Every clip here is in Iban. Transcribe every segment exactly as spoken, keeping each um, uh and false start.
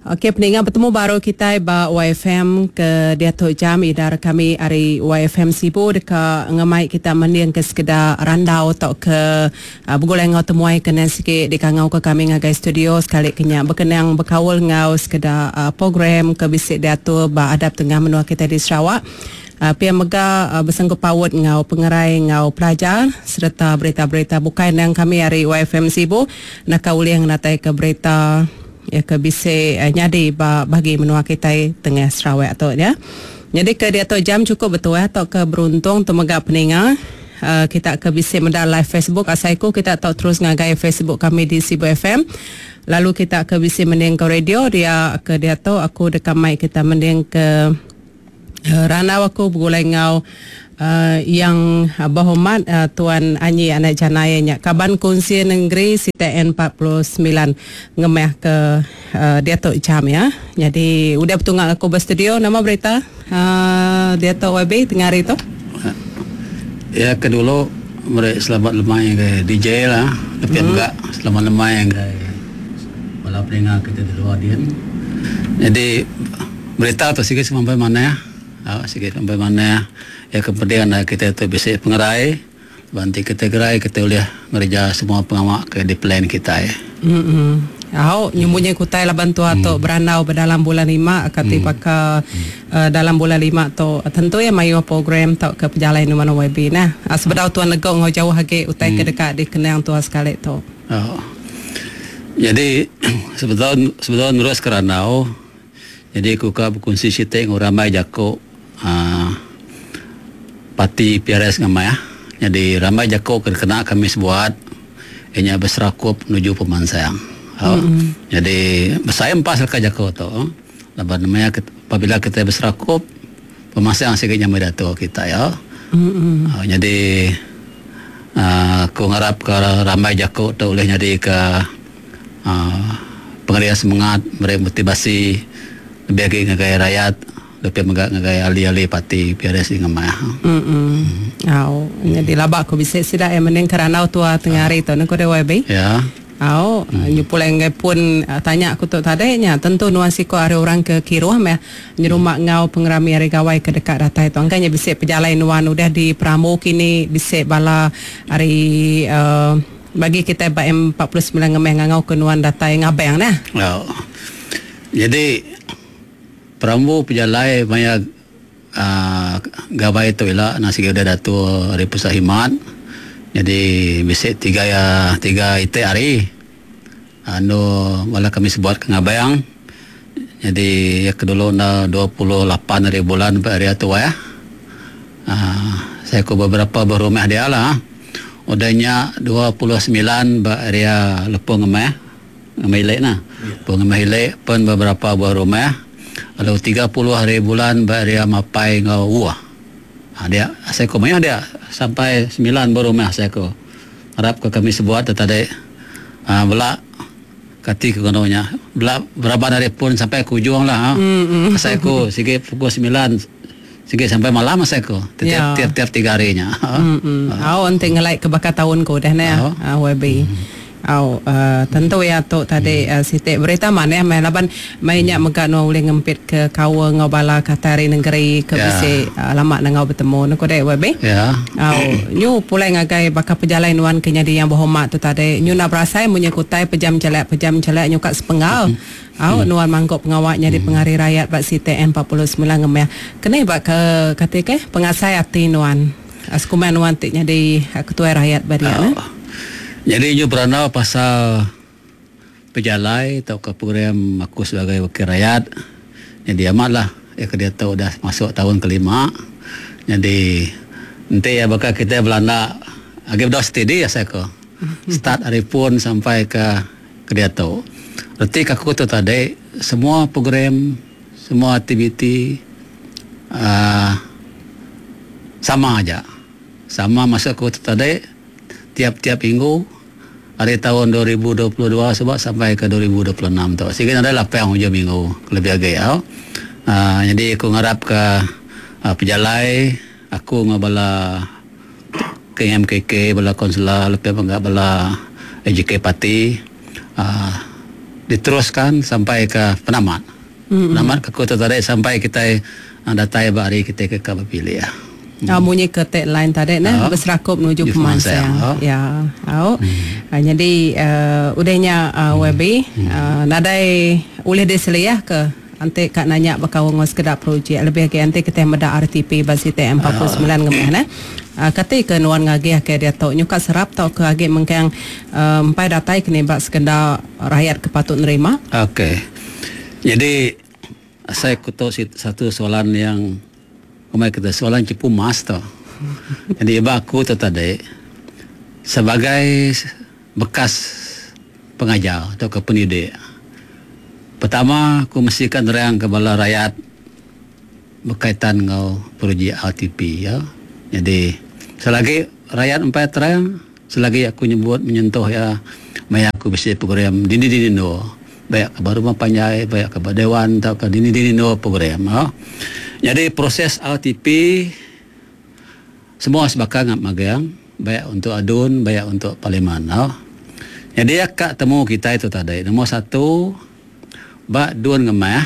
Okey peninga betemu baru kitai ba Y F M ke diatu jam idar kami ari Y F M Sibu deka ngemai kita mending ke sekeda randau atau ke uh, begulai ngau temuai ke nan sikit dikangau ke kami ngagai studio sekali kenya berkenang berkaul ngau sekeda uh, program ke bisi diatur ba adap tengah menua kita di Sarawak. Uh, P M mega uh, bersanggup paut ngau pengerai ngau pelajar serta berita-berita bukai nang kami ari Y F M Sibu nak ulih ngatai ke berita ya ke bisi uh, nyadi ba bagi menua kita tengah Sarawak tu ya. Jadi ke dia tu jam cukup betul ya atau ke beruntung tu mega peninga uh, kita ke bisi meda live Facebook asaiku kita tau terus ngagai Facebook kami di Sibu F M. Lalu kita ke bisi mending ke radio dia ke dia tu aku dekat mic kita mending ke uh, ranau aku begulai ngau Uh, yang uh, berhormat uh, Tuan Anyi Anak Janai nya Kaban Kunsi Negeri C T N empat puluh sembilan ngemeh ke uh, dia tu jam ya. Jadi udah betungak aku berstudio nama berita uh, dia tu Y B tengah hari tu. Ya ke dulu mereka selamat lemai ke D J lah. Tapi hmm. juga selamat lemai ke bala peninga kita di luar dia. Jadi berita tu sikit sampai mana ya? Ah, sikit sampai mana ya? Ya kemudian kita tu bisa pengerai banti kita gerai kita boleh ngerja semua pengawak ke di plan kita ya. Hmm. Au nyumunya kutai laban tua tu berandau berdalam bulan lima kati paka uh, dalam bulan lima tu tentu ya mayu program tau ke pejalai nu mana Y B nah. Sebedau tuan legok ngau jauh lagi utai ke dekat di kenang tua sekali tu. Oh. Jadi sebedau sebedau nurus kerandau jadi ku ka berkongsi cerita ngau ramai jako uh, parti P R S ngamai ya. Jadi ramai jako kena kami sebuat inya berserakup menuju pemansang. Oh. Mm-hmm. Jadi besar empat selka jako tu. Laban namanya apabila kita berserakup pemansang sikit nyamai dato kita ya. Mm-hmm. Oh, jadi uh, aku ngarap ke ramai jako tu boleh jadi ke uh, pengerian semangat, beri motivasi lebih lagi ngagai rakyat. Lebih megak ngagai ahli-ahli parti P R S di ngamai. Hmm. Mm. Au, jadi labak aku bisa sida yang mending kerana tua tengah hari tu nak kau Y B. Ya. Au, hmm. Nyupulang ngai pun uh, tanya aku tu tadanya tentu nuan siko ada orang ke kiruh meh nyerumah ngau pengerami hari gawai ke dekat datai tu. Angkanya bisa pejalai nuan udah di Pramu kini bisa bala hari uh, bagi kita ba M empat puluh sembilan ngemeh ngau ke nuan datai ngabeng nah. Au. Jadi Perambu pejalai maya uh, gawai tu ialah nasi udah datu hari pusat himat. Jadi bisa tiga ya tiga it hari. Anu malah kami sebuat ke ngabayang. Jadi ya kedulu na dua puluh lapan hari bulan hari tu ya. Uh, saya ke beberapa berumah dia lah. Udahnya dua puluh sembilan ba area lepung ngemeh. Ngemeh ilek nah. Lepung ngemeh ilek pun beberapa buah rumah. Lalu tiga puluh hari bulan area mapai ngau uah. Ha, dia saya ko mayah dia sampai sembilan baru mah saya ko. Harap ke kami sebuat tadi ha, belak kati ke kononya. Belak berapa hari pun sampai ke ujung lah. Ha. Mm-hmm. Saya ko sikit pukul sembilan sikit sampai malam saya ko. Tiap yeah. tiap tiap tiga harinya. Ha. Mm-hmm. Ha. Oh, ente ngelai ke bakal tahun ko dah nah. Ha, Y B. Mm-hmm. Au uh, tentu ya tu tadi hmm. uh, sitik berita mana mai laban mai nya mega no boleh ngempit ke kawa ngau bala katari negeri ke yeah. Bisi uh, lama nangau bertemu no kodai Y B. Ya. Au nyu pulai ngagai bakal pejalai nuan ke nyadi yang berhormat tu tadi nyu nak berasai munye kutai pejam celak pejam celak nyu kat sepenggal. Hmm. Au hmm. Nuan mangkok pengawak nyadi hmm. pengari rakyat bak C T N empat puluh sembilan ngemeh. Kena bak ke kate ke pengasai ati nuan. Askuman nuan tik nyadi ketua rakyat ba dia nah. Jadi nyu beranau pasal pejalai atau ke program aku sebagai wakil rakyat. Jadi amatlah ya ke dia tahu dah masuk tahun kelima. Jadi nanti ya bakal kita belanda agak dah steady ya saya ko. Start hari pun sampai ke ke dia tahu. Reti aku tu tadi semua program, semua aktiviti uh, sama aja. Sama masa aku tu tadi tiap-tiap minggu hari tahun dua ribu dua puluh dua sebab sampai ke dua ribu dua puluh enam tu. Sehingga ada lapan hujung minggu lebih agak ya. Uh, jadi aku ngarap ke uh, pejalai aku ngabala K M K K bala konsula lebih bangga bala A J K parti uh, diteruskan sampai ke penamat. Mm-hmm. Penamat ke kota tadi sampai kita datai ba hari kita ke ke berpilih. Hmm. Uh, munyi ke tagline tadi nah uh, berserakup menuju pemansang. Oh. Ya. Au. Hmm. Uh, jadi uh, udahnya uh, hmm. Y B hmm. uh, nadai ulih diseliah ke anti kak nanya bakal ngos sekedar projek lebih ke anti kita meda R T P ba C T M empat puluh semilan ngemeh nah. Uh, kati ke nuan ngagih ke dia tu nyuka serap tau ke agi mengkang empai uh, datai kini bak sekedar rakyat ke patut nerima. Okey. Jadi saya kutuk satu soalan yang kemai kita soalan cepu mas tu. Jadi ibu aku tu tadi sebagai bekas pengajar atau ke pendidik. Pertama, aku mesti kan terang ke bala rakyat berkaitan dengan projek R T P ya. Jadi selagi rakyat empat terang, selagi aku nyebut menyentuh ya, maya aku bisa program dini dini no. Baik ke rumah panjai, baik ke dewan atau ke dini dini no program ya. Jadi proses R T P semua sebakal ngap magang, baik untuk adun, baik untuk parlimen. No. Jadi akak temu kita itu tadi. Nombor satu, bak dun Ngemah,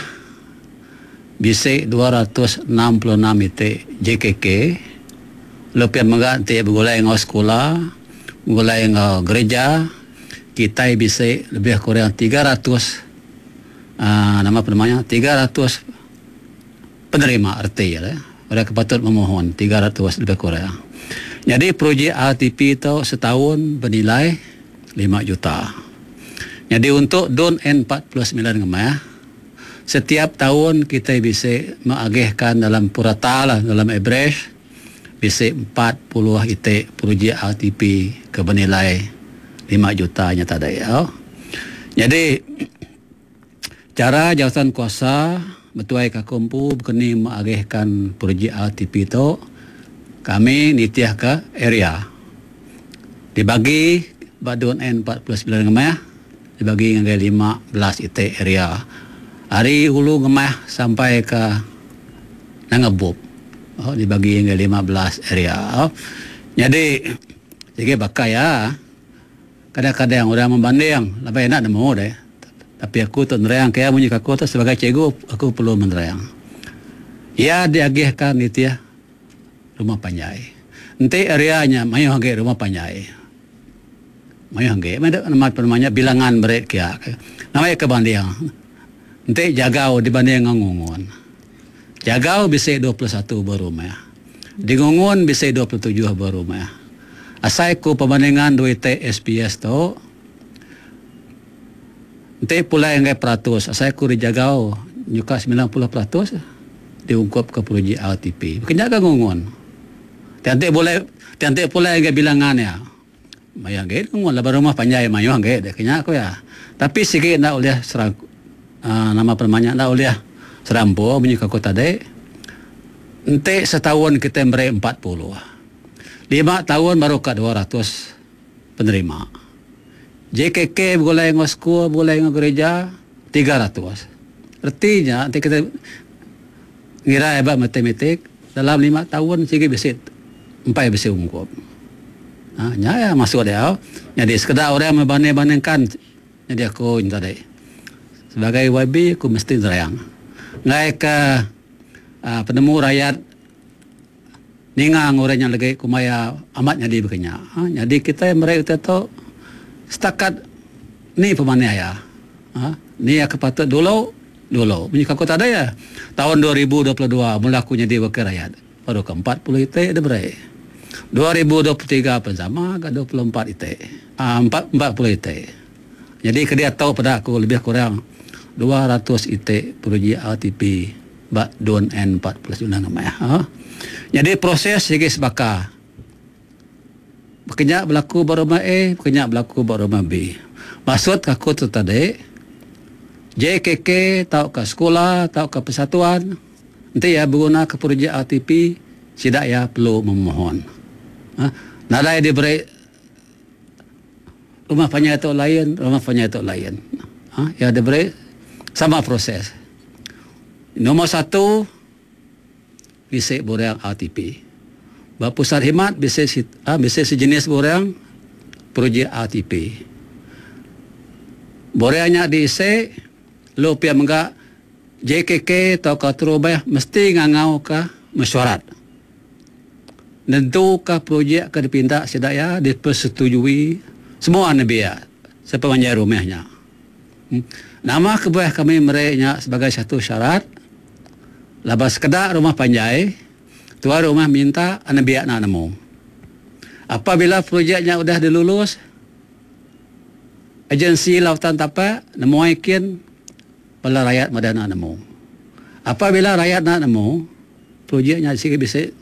bisik dua ratus enam puluh enam itik J K K. Lepas megak nanti bergulai dengan sekolah, bergulai dengan gereja, kita bisik lebih kurang tiga ratus uh, nama apa namanya tiga ratus penerima erti ya. Mereka patut memohon tiga ratus lebih kurang. Jadi projek R T P itu setahun bernilai lima juta. Jadi untuk DUN N empat puluh sembilan Ngemah, setiap tahun kita bisa mengagihkan dalam purata lah, dalam average, bisa empat puluh itik projek R T P ke bernilai lima juta nya tadi. Ya. Jadi cara jawatan kuasa betuai kakumpu berkeni mengagihkan projek R T P itu, kami nitiah ke area. Dibagi badun N empat puluh sembilan Ngemah dibagi dengan lima belas itik area. Hari hulu Ngemah sampai ke Nangebub. Oh, dibagi dengan lima belas area. Oh. Jadi jadi bakai ya. Kadang-kadang orang membanding, lebih enak nemu deh. Tapi aku tu nerang kaya bunyi aku tu sebagai cikgu aku perlu menerang. Ya, diagihkan itu ya rumah panjai. Nanti areanya mayu hangge rumah panjai. Mayu hangge, mana nama namanya bilangan berit kia. Namanya kebanding. Nanti jagau dibanding dengan Ngungun. Jagau bisa dua puluh satu berumah. Di Ngungun bisa dua puluh tujuh berumah. Asai ku perbandingan dua T S P S tu nanti pula yang peratus, asai ku dijagau nyuka sembilan puluh peratus diungkap ke projek R T P. Bukannya ke Ngungun. Nanti boleh nanti pula yang bilangan ya. Mayang ge ngungun lah rumah panjai mayang ge deh kenya aku ya. Tapi sikit nak oleh serang uh, nama permanya nak oleh serampo bunyi aku tadi. Nanti setahun kita beri empat puluh. Lima tahun baru ke dua ratus penerima. J K K boleh dengan sekolah, boleh dengan gereja, tiga ratus. Artinya, nanti kita ngira hebat matematik, dalam lima tahun sikit bisa empat bisa ungkup. Ha, ya, masuk dia. Jadi sekedar orang membanding-bandingkan, jadi aku tadi. Sebagai Y B, aku mesti terang. Ngai ke uh, penemu rakyat ningang orang yang lagi kumaya amat jadi berkenya. Ha, jadi kita mereka itu setakat ni pemana ya. Ha, ni yang patut dulu dulu. Bunyi aku tak ada ya. Tahun dua ribu dua puluh dua mula aku jadi wakil rakyat. Baru ke empat puluh itik dia beri. dua ribu dua puluh tiga pun sama ke dua puluh empat itik. Ah, empat, empat puluh itik. Jadi ke dia tahu pada aku lebih kurang dua ratus itik projek R T P bak DUN N empat puluh sembilan namanya. Ha? Jadi proses segi sebaka. Berkenyak berlaku ba rumah A, berkenyak berlaku ba rumah B. Maksud aku tu tadi, J K K tau ke sekolah, tau ke persatuan, nanti ya berguna ke projek R T P, tidak ya perlu memohon. Ha? Nadai diberi rumah panjang itu lain, rumah panjang itu lain. Ha? Ya diberi sama proses. Nombor satu, bisik borang R T P. Ba pusat khidmat bisa ah, bisa sejenis borang projek R T P. Borengnya diisi lu pia mega J K K atau ka terubah mesti ngangau ke mesyuarat. Nentuka projek ke dipinta sidaya dipersetujui semua nebiak sepemanjai rumahnya. Hmm. Nama kebuah kami mereknya sebagai satu syarat laba sekedak rumah panjai tuan rumah minta nebiak nak nemu. Apabila projeknya udah dilulus agensi lautan tapak nemu ikin bala rakyat muda nak nemu. Apabila rakyat nak nemu projeknya sigi bisa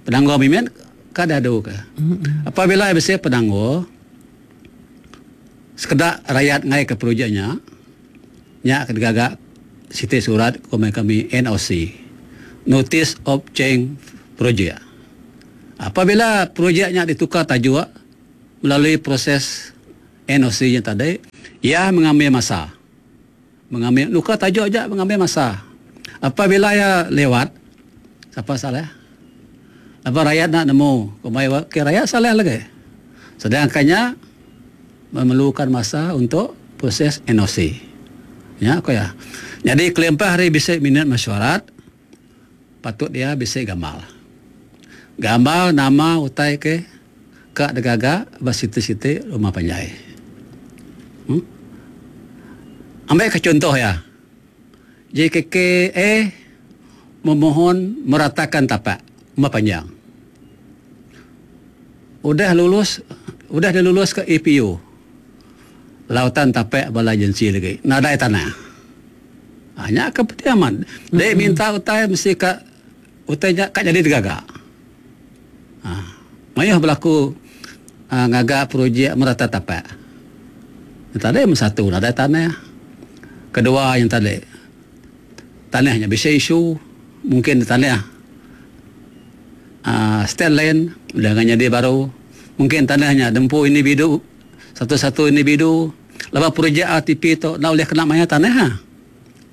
penangguh mimin kada adu ke. Apabila bisa penangguh sekedak rakyat ngai ke projeknya nya kegagak siti surat kami kami N O C, Notice of Change Project. Apabila projeknya ditukar tajuk melalui proses N O C yang tadi, ia mengambil masa. Mengambil luka tajuk aja mengambil masa. Apabila ia lewat, siapa salah? Apa rakyat nak nemu? Kumai ke rakyat salah lagi. Sedangkannya memerlukan masa untuk proses N O C. Ya, aku ya. Jadi kelempah hari bisa minat mesyuarat, patut dia bisa gamal. Gamal nama utai ke kak degaga basiti-siti rumah panjai. Hmm? Ambil ke contoh ya. J K K A memohon meratakan tapak rumah panjang. Udah lulus, udah dilulus ke A P U. Lautan tapak bala agensi lagi. Nadai tanah. Hanya kepetiaman. Dia mm-hmm. minta utai mesti kat utainya kat jadi tergagak. Ha. Mayuh berlaku ha, ngagak projek merata tapak. Yang tadi yang satu nadai tanah. Kedua yang tadi tanahnya bisa isu mungkin tanah uh, stand land dengan jadi baru mungkin tanahnya dempu individu satu-satu individu lepas projek R T P tu nak boleh kena maya tanah ha?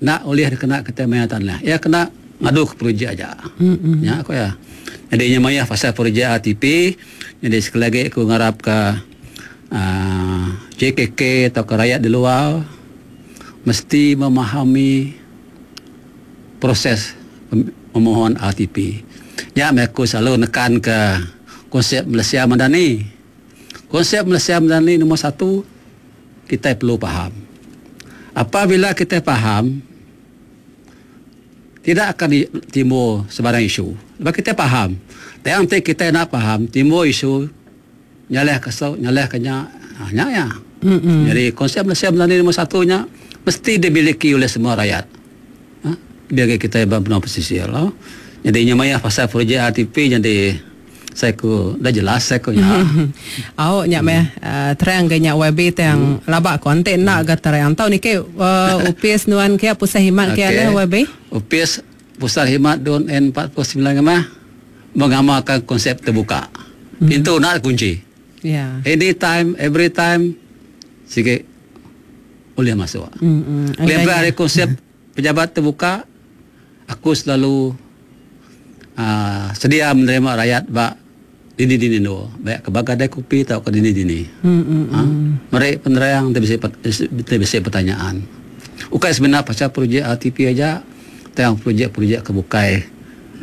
Nak boleh kena kata maya tanah ya kena ngadu ke projek aja. Mm-hmm. Ya aku ya. Jadi nya maya pasal projek R T P jadi sekali lagi aku ngarap ke uh, J K K atau ke rakyat di luar mesti memahami proses memohon R T P. Ya, aku selalu nekan ke konsep Malaysia Madani. Konsep Malaysia Madani nombor satu, kita perlu faham. Apabila kita faham, tidak akan timbul sebarang isu. Sebab kita faham. Yang kita nak faham, timbul isu, nyalah kesau, nyalah kenya, hanya ya. Mm-hmm. Jadi konsep Malaysia Madani nombor satunya mesti dimiliki oleh semua rakyat. Ha? Biar kita benar pesisir lah. Jadi nyamaya pasal projek R T P jadi saya ku dah jelas saya ku nya. Au nya meh terang ge nya Y B tang labak konten nak ga terang. Tau ni ke upis nuan ke pusat khidmat ke le Y B? Upis pusat khidmat don N empat puluh sembilan mah mengamalkan konsep terbuka. Pintu nak kunci. Ya. Anytime, every time sikit boleh masuk. Mm-hmm. Lepas dari konsep pejabat terbuka, aku selalu uh, sedia menerima rakyat bak dini-dini no, baik ke bagadai kopi atau ke dini-dini. Mm-hmm. Ha? Mereka penerang tak bisa pertanyaan. Bukan sebenarnya pasal projek R T P aja, tentang projek-projek kebukai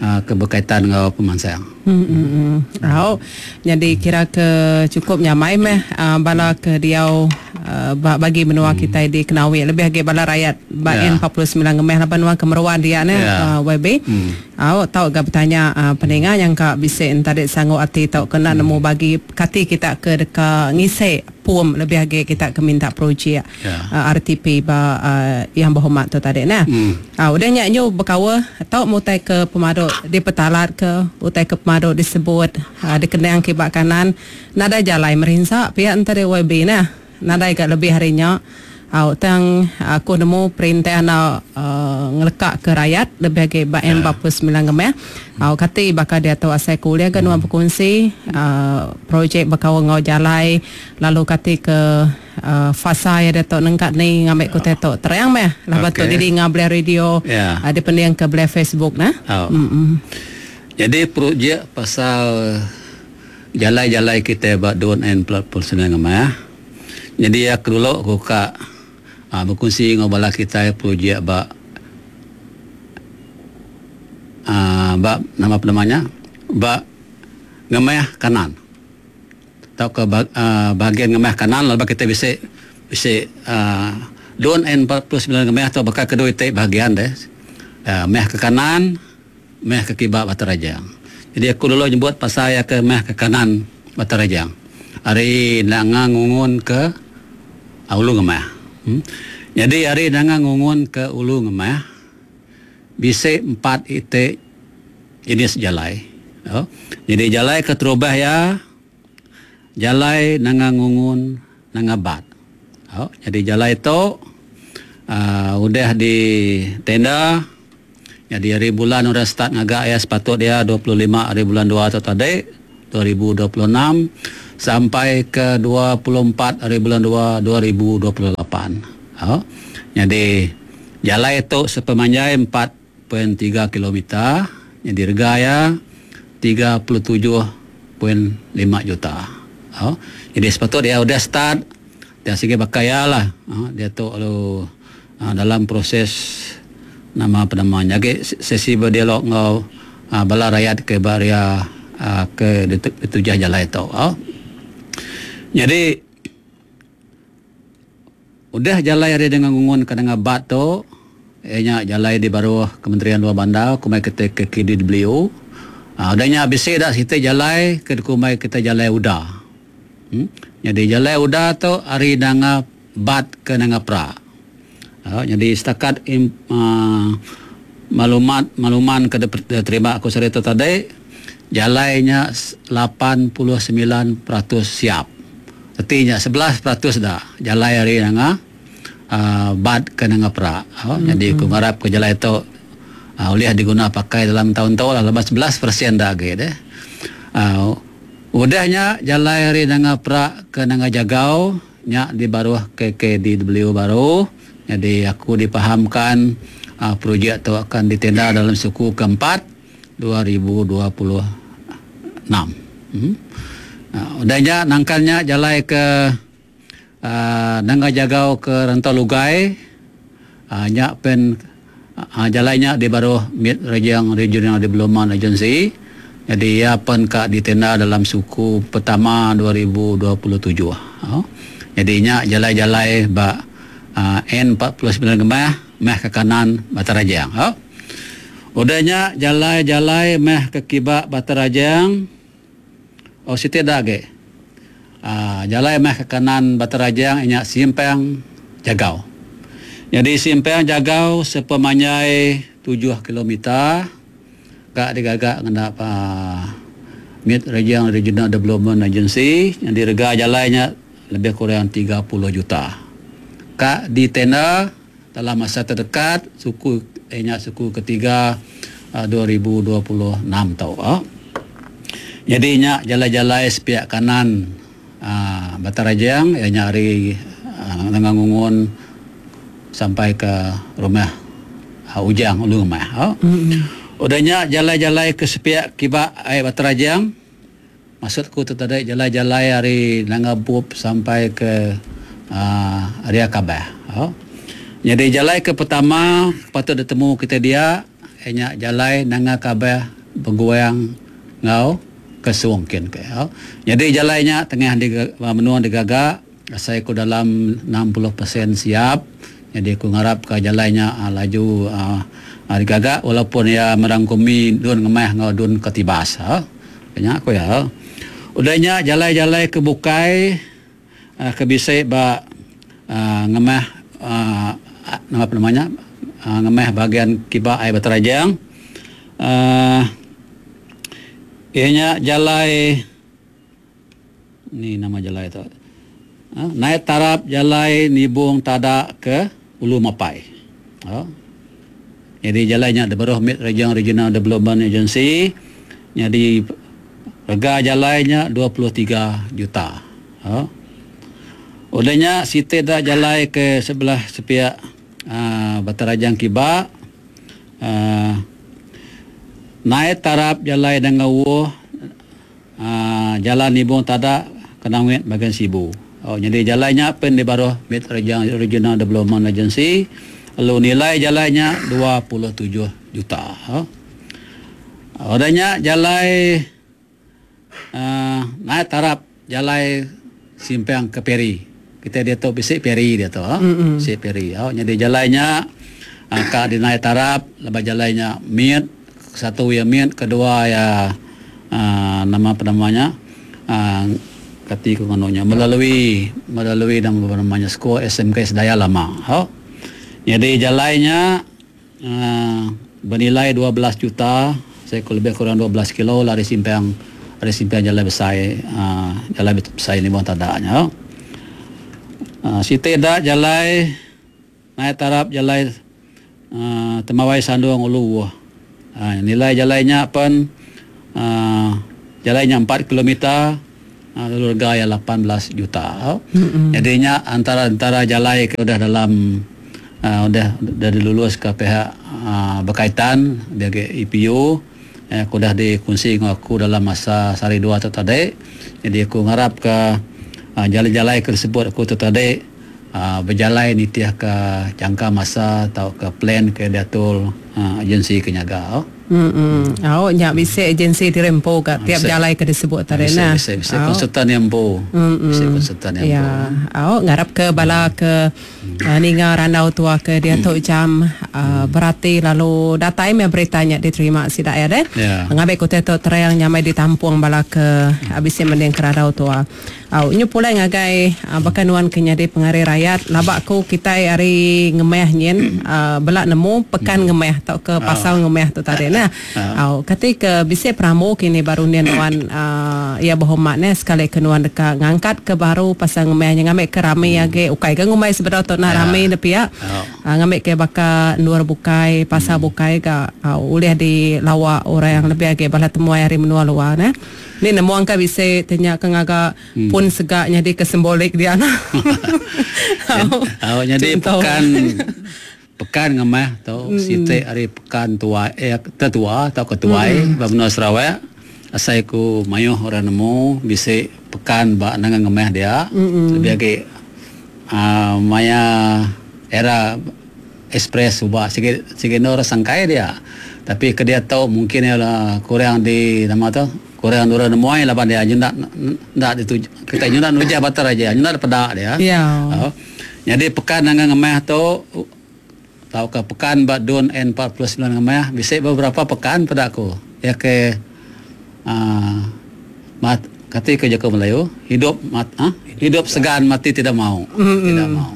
uh, keberkaitan dengan pemansang. Hmm, hmm, hmm. Oh, jadi kira ke cukup nyamai meh uh, bala ke diau uh, bagi menua hmm. kita di Kenawi lebih lagi bala rakyat ba yeah. N empat puluh sembilan ngemeh laban wan kemeruan dia ne yeah. uh, Y B. Hmm. Oh, tau ga bertanya uh, pendengar yang ka bisa entadik sanggup ati tau kena hmm. nemu bagi kati kita ke deka ngisek pum lebih lagi kita ke minta projek yeah. uh, R T P ba uh, yang berhormat tu tadi nah. Hmm. Uh, udah nyak nyu bekawa tau mutai ke pemaduk di petalat ke utai ke pemaduk disebut uh, dikenang kibak kanan nadai jalai merinsak pihak antara Y B nah nadai gak lebih harinya au tang aku nemu perintah nak uh, ngelekak ke rakyat lebih lagi bak N empat puluh sembilan gemeh au kati bakal dia tahu asal kuliah kan nuan berkongsi uh, projek bakal ngau jalai lalu kati ke uh, fasa ya dia tok nengkat ni ngambil ku tetok terang meh lah betul okay. Di ngah belah radio yeah. Ada pendiang ke belah Facebook nah. Oh. Mm-mm. Jadi projek pasal jalai-jalai kita buat don and platform senang ya. Jadi aku dulu aku kak uh, berkongsi dengan bala kita projek ba uh, ba nama apa namanya ba ngemah kanan atau ke uh, bahagian ngemah kanan lalu kita bisa bisa uh, don N empat puluh sembilan ngemah atau bakal kedua itu bahagian deh uh, meh ke kanan meh ke kibak Batu Rajang. Jadi aku dulu nyebut pasal ya ke meh ke kanan Batu Rajang. Hari nanga ngungun ke ulu ngemah. Hmm. Jadi hari nanga ngungun ke ulu ngemah bisa empat itik jenis jalai. Oh. Jadi jalai ke terubah ya jalai nanga ngungun nanga bat. Oh. Jadi jalai tu uh, udah di tenda. Jadi hari bulan udah start ngagak ya sepatut dia dua puluh lima hari bulan dua atau tadi dua ribu dua puluh enam sampai ke dua puluh empat hari bulan dua dua ribu dua puluh lapan. Oh. Jadi jalai itu sepemanjai empat koma tiga kilometer, jadi rega ya tiga puluh tujuh koma lima juta. Oh. Jadi sepatut dia udah start dia segi bakaya lah. Oh. Dia tu lalu uh, dalam proses nama apa namanya ke sesi berdialog ngau uh, bala rakyat ke baria uh, ke ditujah jalan itu. Oh. Jadi udah jalai hari dengan ngungun ke dengan bat tu ianya jalai di baruh Kementerian Luar Bandar kumai kita ke K D W. Uh, udahnya habis dah kita jalai ke kumai kita jalai udah. Hmm? Jadi jalai udah tu hari nanga bat ke nanga pra. Uh, jadi setakat im, uh, maklumat makluman ke terima aku cerita tadi jalainya lapan puluh sembilan peratus siap. Artinya sebelas peratus dah jalai hari nanga uh, bat ke nanga pra. Uh, mm-hmm. Jadi aku harap ke jalai itu uh, boleh diguna pakai dalam tahun-tahun lah lepas sebelas peratus dah lagi deh. Uh, udahnya jalai hari nanga pra ke nanga jagau nya di baruh K K D W baru. Jadi aku dipahamkan uh, projek tu akan ditenda dalam suku keempat dua ribu dua puluh enam. Hmm. Uh, udahnya nangkalnya jalai ke uh, nangga jagau ke Rantau Lugai. Uh, nyak pen uh, jalainya di baruh Mid Rejang Regional Development Agency. Jadi ia pen ka ditenda dalam suku pertama dua ribu dua puluh tujuh. Uh, jadinya jalai-jalai ba Uh, N empat puluh sembilan gemah meh ke kanan Batu Rajang. Oh. Udahnya jalai-jalai meh ke kibak Batu Rajang. Oh siti dah ge. Uh, jalai meh ke kanan Batu Rajang inya simpang Jagau. Jadi simpang Jagau sepemanjai tujuh kilometer kak digagak ngena uh, Mid Rejang Regional Development Agency yang direga jalainya lebih kurang tiga puluh juta. Kak di tenda dalam masa terdekat suku ianya suku ketiga uh, dua ribu dua puluh enam tau. Oh. Jadi nya jalai-jalai sepihak kanan uh, Batu Rajang ianya hari uh, Ngangungun sampai ke rumah uh, Ujang Ulu Rumah. Oh. Mm-hmm. Udahnya jalai-jalai ke sepihak kibak air Batu Rajang. Maksudku tu tadi jalai-jalai hari Nangabup sampai ke Uh, area Kabah. Oh. Jadi jalai ke pertama patut ditemu kita dia ianya jalai nanga Kabah bergoyang ngau ke Suongkin ke. Oh. Jadi jalainya tengah di menua digagak saya ku dalam enam puluh peratus siap. Jadi aku ngarap ke jalainya uh, laju uh, uh, digagak walaupun ia merangkumi dun ngemah ngau dun ketibas. Oh. Kenya aku ya. Udahnya jalai-jalai ke Bukai Uh, kebisai ba uh, ngemah uh, nama apa namanya uh, ngemah bahagian kibak air Batu Rajang uh, ianya jalai ni nama jalai tu uh, naik tarap jalai Nibung Tadak ke Ulu Mapai. Uh, jadi jalainya di bawah Mid Rejang Regional Development Agency. Jadi rega jalainya dua puluh tiga juta. Uh, Udahnya siti dah jalai ke sebelah sepiak uh, Batu Rajang kibak uh, naik tarap jalai Dangawo uh, jalan Nibung Tadak Kenawit bagian Sibu. Oh, jadi jalannya pen di baruh Mid Regional Development Agency. Lalu nilai jalannya dua puluh tujuh juta. Oh. Odanya jalai uh, naik tarap jalai simpang ke Peri. Kita dia tu bisik Peri dia tu. Oh. Mm-hmm. Bisik Peri. Oh, jadi jalannya uh, ka di naik tarap lepas jalannya mid satu ya mid, kedua ya uh, nama apa namanya? Uh, kati ku ngononya melalui melalui nama apa namanya sekolah S M K Sedaya Lama. Oh. Jadi jalannya uh, bernilai dua belas juta, saya lebih kurang dua belas kilo lari simpang dari simpang jalan besar, uh, jalan besar ini bukan tadanya. Uh, Siti dak jalan naik tarap jalan uh, Temawai Sandung Ulu. Uh, nilai jalannya pun uh, jalannya empat kilometer, uh, lalu harga ya lapan belas juta. Mm-hmm. Jadinya antara-antara jalan ke udah dalam Uh, udah udah dilulus ke pihak uh, berkaitan bagi E P U, eh, aku dah dikunci dengan aku dalam masa sehari dua tu tadi. Jadi aku ngarap ke uh, jalan-jalan ke tersebut aku tu tadi uh, berjalan nitiah ke jangka masa atau ke plan ke diatur uh, agensi kenyaga. Oh. Hmm. Oh, nyak bisa agensi dirempo kat tiap jalan ke disebut tadi nah. Bisa bisa konsultan yang empu. Bisa konsultan yang empu. Ya. Oh, ngarap ke bala ke uh, ninga randau tua ke dia tu jam uh, berarti lalu datai me beritanya diterima sidak ya deh. Yeah. Ngambil kota tu terang nyamai ditampung bala ke habis mending ke randau tua. Au nyu pulai ngagai uh, bahkan nuan ke nyadi pengari rakyat labak ku kita hari ngemeh nyin uh, belak nemu pekan ngemeh atau ke pasal ngemeh tu tadi nah. Au kata ke bisi pramu kini baru ni nuan uh, ya berhormat ne sekali ke nuan dekat ngangkat ke baru pasal ngemeh nya ngambil ke rame age ukai ke ngumai sebenar tu nak rame nepi ya. Uh, ngambil ke baka luar bukai pasal bukai ka uh, ulih di lawak orang yang lebih age bala temuai hari menua luar ne. Ni nemu angka bisa tanya ke ngagak hmm. pun segaknya di kesimbolik dia nah. Oh, jadi pekan pekan ngemah tu hmm. siti hari pekan tua eh tetua atau ketuai hmm. ba Sarawak asai ku mayuh orang nemu bisa pekan ba nang ngemah dia hmm. lebih agi uh, maya era express ubah sikit sikit orang sangkai dia tapi ke dia tahu mungkin ialah kurang di nama tu kurang orang nemu ai laban dia nyendak ndak dituju kita nyendak nujah batar aja nyendak pedak dia ya. Oh. Jadi pekan nang ngemah tu tahu ke pekan bak don N empat puluh sembilan ngemah bisa beberapa pekan pada aku ya ke uh, mat kata ke Jawa Melayu hidup mat, ha? Hidup segan mati tidak mau mm-hmm. tidak mau.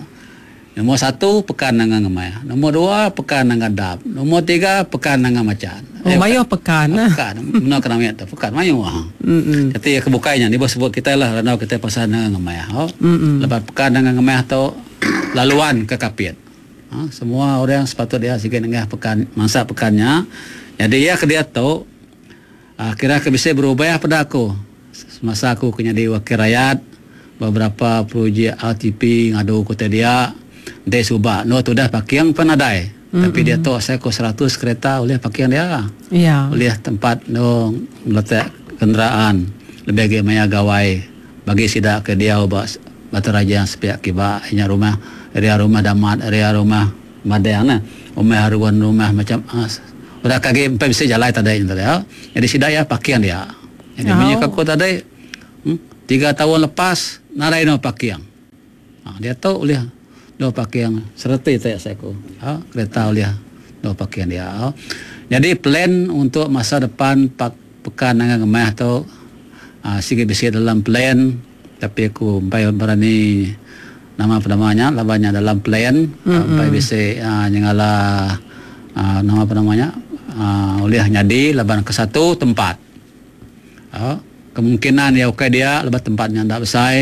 Nombor satu pekan nang ngemah, nombor dua pekan nang dap, nombor tiga pekan nang macan. Oh, eh, mayo pekan. Pekan benar kena miat tu pekan mayo ah. Mm-hmm. Jadi kebukainya ni bos sebut kita lah randau kita pasal nang ngemah. Oh. Mm-hmm. Lepas pekan nang ngemah tu laluan ke Kapit. Ha, semua orang sepatut dia sikit nengah pekan mangsa pekannya. Jadi ya ke dia tu uh, kira ke bisa berubah pada aku. Semasa aku kena di wakil rakyat beberapa projek R T P ngadu kota dia de subak no tu dah pakiang penadai. Mm-hmm. Tapi dia tu saya ko seratus kereta oleh pakiang dia. Ya. Oleh tempat no letak kenderaan lebih agi maya gawai bagi sidak ke dia ba Batu Raja yang sepiak kiba nya rumah area rumah damat area rumah madang nah rumah haruan rumah macam ah, udah kaki empat bisa jalan tadi tadi ya. Jadi sidak ya pakiang dia. Jadi oh. Punya aku tadi hmm, tiga tahun lepas narai no pakiang. Ha, dia tu oleh dua pakiang serta tak saya ku. Ha, kereta oleh dua pakiang dia. Ha. Jadi plan untuk masa depan pak, pekan dengan ngemah tu ha, sikit bisa dalam plan tapi aku sampai berani nama apa namanya labannya dalam plan mm-hmm. sampai bisa uh, nyengala uh, nama apa namanya uh, oleh nyadi laban ke satu tempat. Uh, kemungkinan ya okey dia lebat tempatnya ndak besar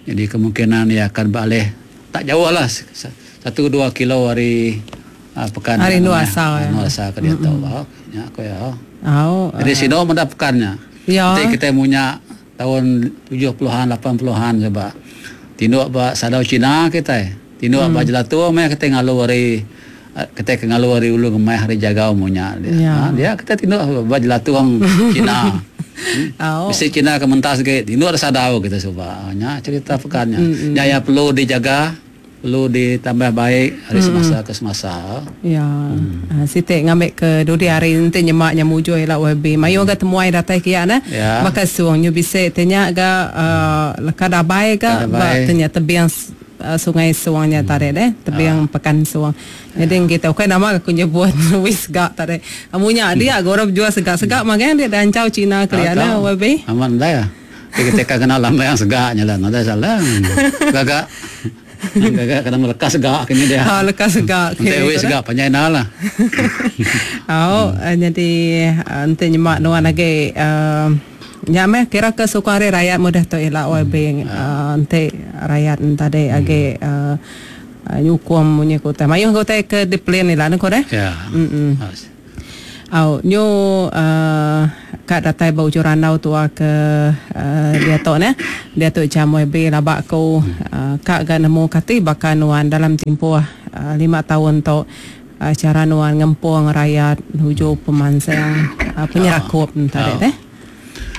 jadi kemungkinan dia akan beralih tak jauh lah satu dua kilo hari uh, pekan hari nuasa ya. Nuasa ke dia mm-hmm. tahu oh, ya aku ya. Oh, jadi uh. sino mendapatkannya. Ya. Nanti kita punya tahun tujuh puluhan lapan puluhan sebab tinduk ba sadau Cina kita. Tinduk hmm. ba jelatu mai kita ngalu hari kita ke ngalu hari ulu ngemai hari jagau munya dia. Ya. Ha, dia kita tinduk ba jelatu orang Cina. Oh. Bisi Cina ke mentas ge indu ada sadau kita suba. Nya cerita pekannya. Nya ya perlu dijaga, perlu ditambah baik dari semasa ke semasa. Ya. Hmm. Siti ngambil ke dudi hari nanti nyemak nyamuju ila Y B. Mayu ga temuai datai kia nah. Ya. Maka suang nyu bisi tanya ga uh, leka dabai ga ba tanya tebing uh, sungai suangnya hmm. tadi deh, tebing ah. Pekan Suang. Jadi ya. Kita okey nama aku nyebut wis gak tadi. Amunya dia hmm. Orang jual segak-segak hmm. Magang dia dancau Cina kelia nah Y B. Aman dah ya. Kita kenal lama yang segaknya lah, nada salah. Gagak. Gagak kadang lekas segak kini dia. Ha lekas segak. Nanti wis segak panjai nah lah. Oh, jadi nanti nyemak nuan lagi uh, ya meh kira ke suku hari rakyat mudah tu ila Y B nanti rakyat tadi agi nyukum munyi kota. Mayuh kota ke diplan ila nak deh. Ya. Mm. Au nyu uh, kat datai bau juranau tua ke uh, dia tu ne. Dia tu jam Y B labak ku uh, kak ga nemu kati bakal nuan dalam tempoh uh, lima tahun tu uh, cara nuan ngempung rakyat nuju pemansang uh, penyerakup tadi deh.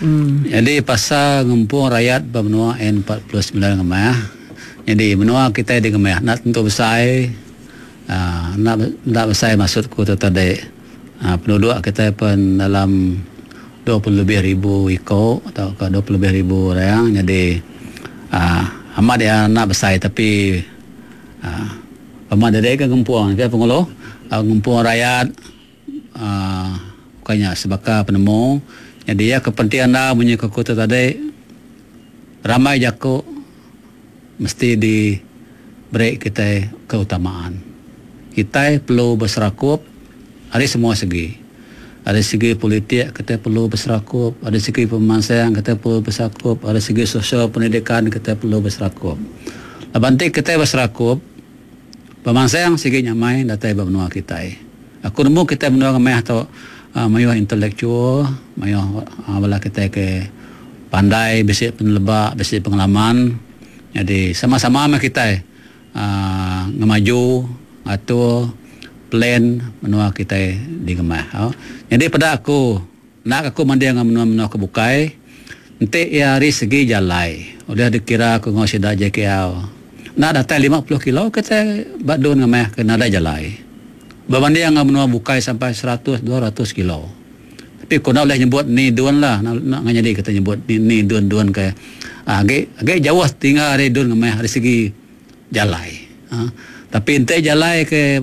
Hmm. Jadi pasal ngempung rakyat bermenua N empat puluh sembilan ngemah. Jadi menua kita di ngemah nak tentu besar. Uh, nak nak besar maksudku tu tadi. Uh, penduduk kita pun dalam dua puluh lebih ribu ekor atau ke dua puluh lebih ribu orang. Jadi uh, amat dia nak besar tapi uh, amat dia kan ngempung dia pengulu uh, ngempung rakyat uh, bukannya sebaka penemu. Jadi ya kepentingan dah bunyi ke kota tadi ramai jako mesti diberi kita keutamaan. Kita perlu berserakup dari semua segi. Dari segi politik kita perlu berserakup, dari segi pemasaran kita perlu berserakup, dari segi sosial pendidikan kita perlu berserakup. Lepas nanti kita berserakup, pemasaran segi nyamai datai benua kita. Aku nemu kita benua ramai atau uh, mayuh intelektual, mayuh uh, bala kita ke pandai, bisi penelebak, bisi pengalaman. Jadi sama-sama sama kita uh, ngemaju atau plan menua kita di Gemah. Oh. Jadi pada aku nak aku mandi dengan menua-menua ke bukai, nanti ia hari segi jalai. Udah dikira aku ngau sida J K L. Nak datang lima puluh kilo kita badun Gemah kena ada jalai. Berbanding dengan menua bukai sampai seratus dua ratus kilo. Tapi kau nak boleh nyebut ni dun lah. Nak, nak jadi kita nyebut ni, ni dun-dun ke. Ah, agak, agak jauh tinggal dari dun Gemah dari segi jalai. Ha. Tapi ente jalai ke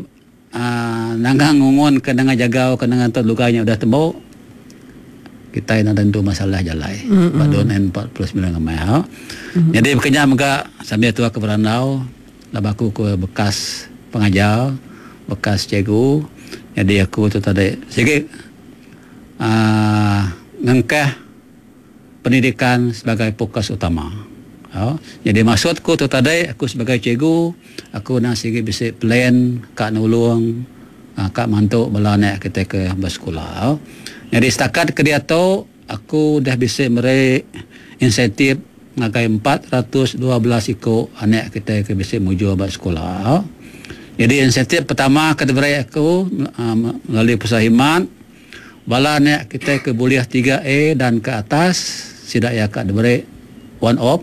uh, nanggang ngungun ke nanggang jagau ke nanggang tu lukanya udah tembok. Kita nak tentu masalah jalai. Mm-hmm. Badun N empat puluh sembilan Gemah. Ha. Mm-hmm. Jadi berkenyam mega sambil tua ke berandau, labaku ke bekas pengajar, bekas cikgu. Jadi aku tu tadi sikit uh, ngengkeh pendidikan sebagai fokus utama. Oh, jadi maksudku tu tadi aku sebagai cikgu aku nak sikit bisa plan kak nulung kak mantuk bala anak kita ke bersekolah. Oh. Jadi setakat ke dia tu aku dah bisa meri insentif ngagai empat ratus dua belas ikut anak kita ke bisa muju bersekolah. Oh. Jadi insentif pertama ke diberi aku melalui pusat khidmat bala anak kita ke boleh tiga A dan ke atas sidak ya kak diberi one off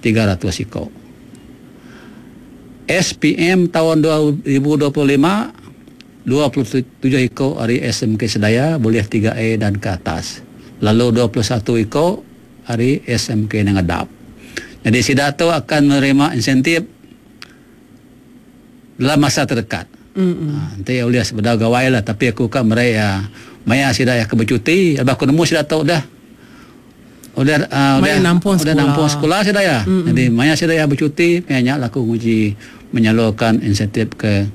tiga ratus ikut. S P M tahun dua ribu dua puluh lima dua puluh tujuh ikut hari S M K Sedaya boleh tiga A dan ke atas. Lalu dua puluh satu ikut hari S M K Nengadap. Jadi sidak tu akan menerima insentif dalam masa terdekat. Mm-hmm. Ha, nanti boleh sebedar gawai lah tapi aku kan mereka maya sidak yang bercuti, abah aku nemu sidak tu dah. Udah uh, udah nampung udah sekolah. Nampung sekolah sudah ya. Mm-hmm. Jadi maya sudah ya bercuti, banyak lah aku nguji menyalurkan insentif ke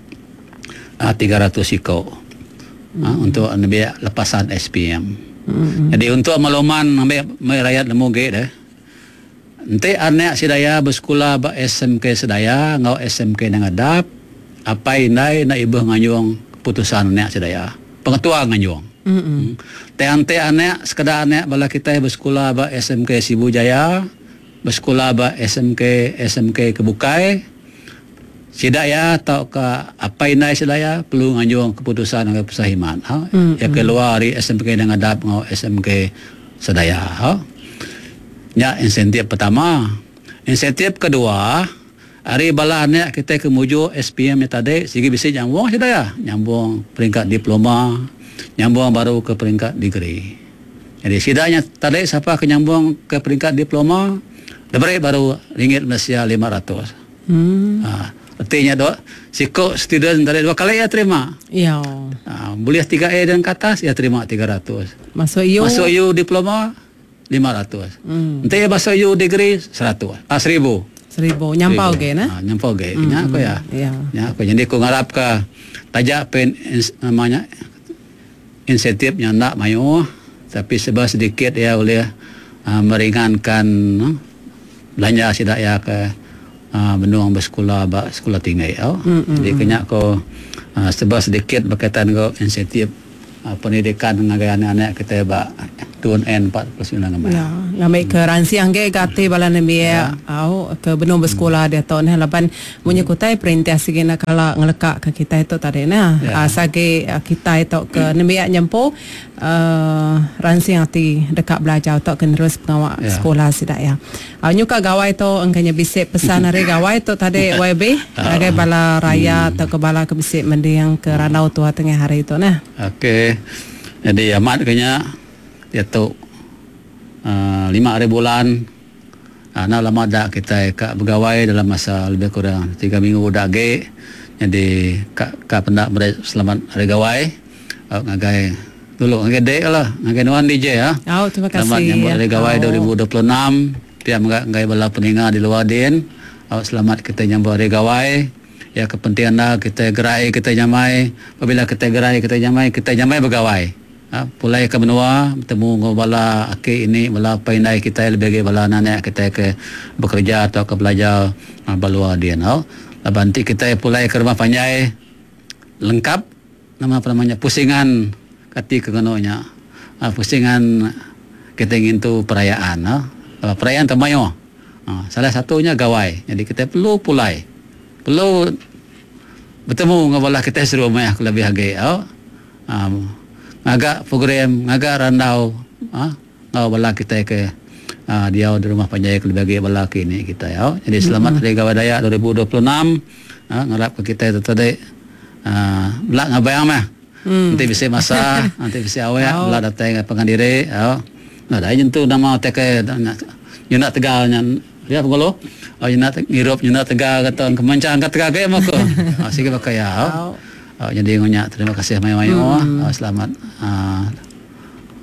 uh, tiga ratus ikut. Mm-hmm. Uh, untuk ambil lepasan S P M. Mm-hmm. Jadi untuk makluman ambil rakyat nemu ge deh. Nanti anak sedaya bersekolah ba S M K Sedaya ngau S M K Nangadap, apa indai nak ibu nganyung keputusan anak sedaya. Pengetua nganyung. Mm-hmm. Te-ante anak sekadar anak bala kita bersekolah ba S M K Sibu Jaya, bersekolah ba S M K S M K Kebukai. Sidaya atau ke apa indai sidaya perlu nganjung keputusan dengan pusat khidmat. Ha? Mm-hmm. Ya keluar dari S M K Nangadap ngau S M K Sedaya. Ha? Nya insentif pertama. Insentif kedua, hari bala anak kita ke muju S P M tadi sigi bisi nyambung sedaya, nyambung peringkat diploma, nyambung baru ke peringkat degree. Jadi sidanya tadi siapa ke nyambung ke peringkat diploma, diberi baru ringgit Malaysia lima ratus. Hmm. Ha, artinya dok, siko student tadi dua kali ia terima. Ya. Ha, boleh tiga A dan ke atas ia terima tiga ratus. Masuk U. Masuk U diploma lima ratus. Hmm. Nanti ia masuk U degree seratus. Ah, seribu. Seribu. Nyampau ge nah. Ha, nyampau ge. Hmm. Nya aku ya. Ya. Nya aku jadi aku ngarap ke tajak pen namanya insentifnya nak mayu tapi sebab sedikit ia boleh uh, meringankan uh, belanja sidak ya ke uh, benung bersekolah ba sekolah tinggi ya. Mm, mm, Jadi mm. kena ko uh, sebab sedikit berkaitan dengan insentif uh, pendidikan dengan anak-anak kita ba Tun N empat puluh sembilan gambar. Ya, ngambil ke ransiang ke gati bala nembiak Ya. au ke benung bersekolah dia tok nah laban munyi kutai perintah sigi nak kala ngelekak ke kita itu tadi nah. Ya. Uh, sagi uh, kita itu ke nembiak nyempo uh, ransiang ti dekat belajar tok ke terus pengawak Ya. sekolah sidak ya. Uh, nyuka gawai tu engkanya bisik pesan hari gawai tu tadi Y B ngagai bala raya atau ke bala ke bisik mendiang ke ranau tua tengah hari itu nah. Okey. Jadi amat kena dia tu uh, lima hari bulan uh, nak lama dak kita kat bergawai dalam masa lebih kurang tiga minggu dak ge. Jadi kat kat pendak beri selamat hari gawai. Uh, ngagai dulu ngagai dek lah, ngagai nuan D J ya. Oh, terima kasih. Selamat nyambut hari gawai Oh. dua ribu dua puluh enam. Pihak ngagai bala peninga di luar din. Uh, selamat kita nyambut hari gawai. Ya kepentingan dah kita gerai kita nyamai. Apabila kita gerai kita nyamai, kita nyamai bergawai. Ha, pulai ke benua bertemu dengan bala aki ini bala paindai kita lebih lagi bala anak kita ke bekerja atau ke belajar ha, balua dia no. Laban nanti kita pulai ke rumah panjai lengkap nama apa namanya pusingan kati ke ngononya. Ha, pusingan kita ingin tu perayaan no. Ha, perayaan temayo. Ha, salah satunya gawai. Jadi kita perlu pulai. Perlu bertemu dengan bala kita serumah lebih lagi no. Ha, ngagak program, ngagak randau, ha, ngau bala kita ke ha, dia di rumah panjai ke lebih bala kini kita ya. Jadi selamat Hari Gawai Dayak dua ribu dua puluh enam. Ha, ngarap ke kita itu tadi ha, belak ngabayang mah. Hmm. Nanti bisa masa, nanti bisa awak Oh. belak datang ke pengandiri ya. Nah, dah jentu nama teke nyenak Tegal nyan dia pengulo. Oh nyenak ngirup nyenak Tegal kata kemancang kat Tegal ke mako. Ha sigi pakai ya. Oh. Oh, jadi ngunya terima kasih mayu-mayu. Hmm. Oh, selamat uh,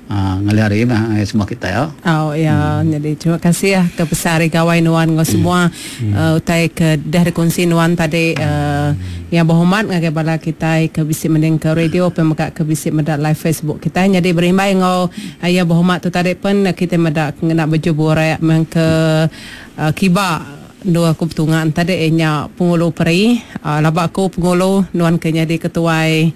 uh, ngalih hari mah semua kita ya. Oh ya, hmm. Jadi terima kasih ya ke besar gawai nuan ngau semua hmm. uh, utai ke dah dikongsi nuan tadi uh, yang berhormat ngagai bala kita ke bisik mending ke radio pemegak ke bisik medak live Facebook kita. Jadi berimbai ngau uh, yang berhormat tu tadi pun kita medak nak berjubur rakyat meng ke uh, kiba dua aku petungan tadi nya pengulu peri uh, labak aku pengulu nuan ke jadi ketuai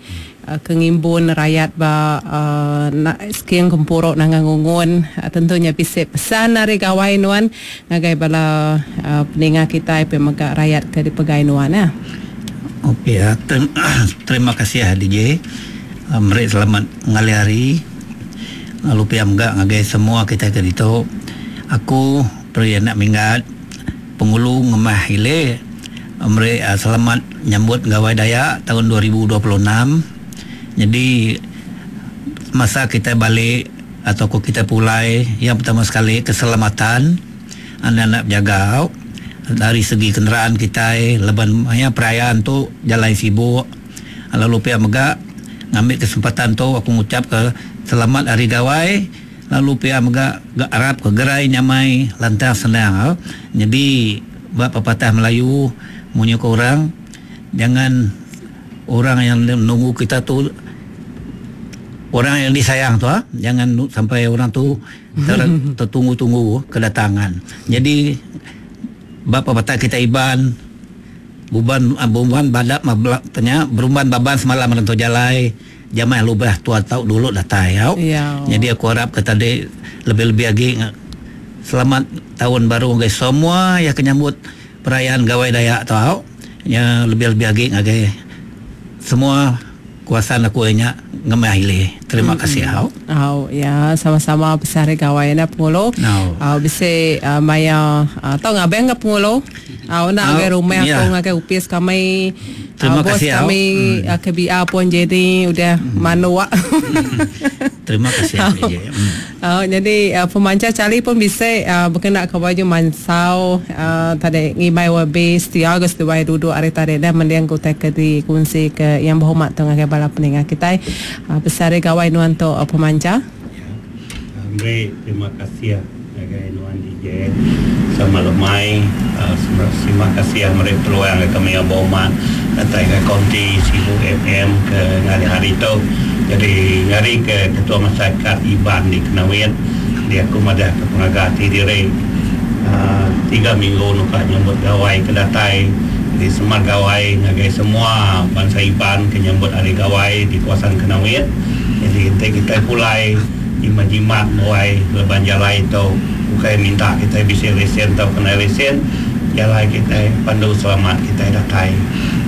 uh, kengimbun rakyat ba uh, nak sekian kempuruk nangang ngungun uh, tentunya bisik pesan dari gawai nuan ngagai bala uh, peninga kita pemegak rakyat ke dipegai nuan ya. Okey ya, terima kasih ya D J. Meri selamat ngalih hari. Lalu piam gak ngagai semua kita ke ditu. Aku peri anak minggat pengulu ngemah ile meri uh, selamat nyambut Gawai Dayak tahun dua ribu dua puluh enam. Jadi masa kita balik atau kita pulai, yang pertama sekali keselamatan anak-anak jaga dari segi kenderaan kita leban ya perayaan tu jalan sibuk. Lalu pihak megak ngambil kesempatan tu aku ngucap ke selamat hari Gawai. Lalu pihak megak Arab ke gerai nyamai lantar senang. Jadi buat pepatah Melayu munyi ke orang, jangan orang yang menunggu kita tu orang yang disayang tu ha? Jangan sampai orang tu ter- tertunggu-tunggu kedatangan. Jadi bab pepatah kita Iban buban buban badak mablak tanya berumban baban semalam rentu jalai jamai lubah tua tau dulu datai ya. Ya. Jadi aku harap ke tadi lebih-lebih lagi selamat tahun baru guys semua yang kenyambut perayaan Gawai Dayak tau. Ya lebih-lebih lagi ngagai semua Kuasa aku nya ngemai ile. Terima kasih hau. Oh ya, sama-sama besar gawai na pengulo. No. Oh bisi uh, maya uh, tau ngabeng ke pengulo. Oh nak Oh, agai rumah ya. aku ngagai upis kami. Terima Ah, bos kasih, Au. kami hmm. K B R pun jadi udah hmm. manuak. Terima kasih D J. Hmm. Oh, jadi uh, pemanca cali pun bisa uh, berkenak ke baju mansau uh, tadi ngibai wabi setia ke seduai duduk hari tadi dan mendiang kutai ke dikunci ke yang berhormat tu ngagai bala peningah kita uh, besar gawai nuan tu uh, pemanca. Beri terima kasih ngagai nuan D J sama lemai uh, terima kasih meri peluang ke kami yang berhormat datang ke konti Sibu F M ke hari hari tu. Jadi ngari ke ketua masyarakat Iban di Kenawit dia aku madah ke pengaga hati diri uh, tiga minggu nuka nyambut gawai ke datai di semar gawai ngagai semua bangsa Iban ke nyambut hari gawai di kawasan Kenawit. Jadi kita, kita pulai jimat-jimat muai leban jalai itu bukan minta kita bisa lesen atau kena lesen jalai kita pandu selamat kita datai.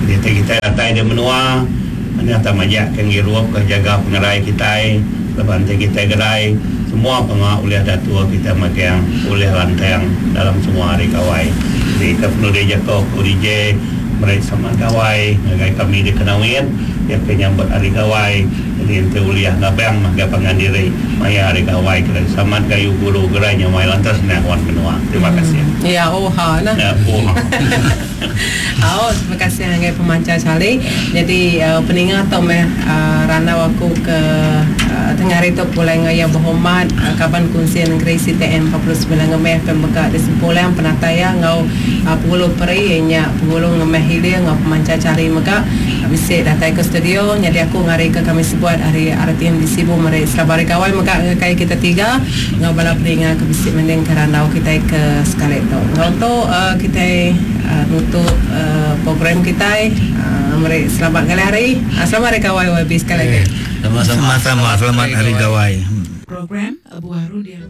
Jadi kita datai di menua mana tak majak ke ngirup ke jaga pengerai kita leban kita gerai semua pengak oleh datua kita magang oleh lantang dalam semua hari gawai. Jadi kita perlu dia jaga D J mereka sama gawai ngagai kami di Kenawit dia ke nyambut hari gawai. Jadi ente uliah ngabang mangga pangan diri maya hari gawai kena samat kayu guru gerai nyamai lantas nak wan menua. Terima kasih. Ya, oh ha nah. Ya, oh. Oh, terima kasih ngagai pemanca cali. Jadi uh, peningat atau meh uh, rana aku ke uh, tengah hari tu pulai ngaya berhormat uh, kaban kunci negeri C T N empat puluh sembilan ngemeh pembekat di sempulang penataya ngau uh, pengulu peri nya pengulu ngemeh hilir ngau pemanca cari mega bisik datang ke studio. Jadi aku ngari ke kami sebuat hari R T M di Sibu meri selamat hari gawai mega ngagai kita tiga ngau bala peningat ke bisik mending kerana kita ke sekali tu. Ngau tu uh, kita uh, nutup uh, program kita uh, meri selamat kali hari. Uh, selamat hari gawai Y B sekali lagi. Sama-sama. Sama-sama selamat hari gawai. Program Buah Rudia.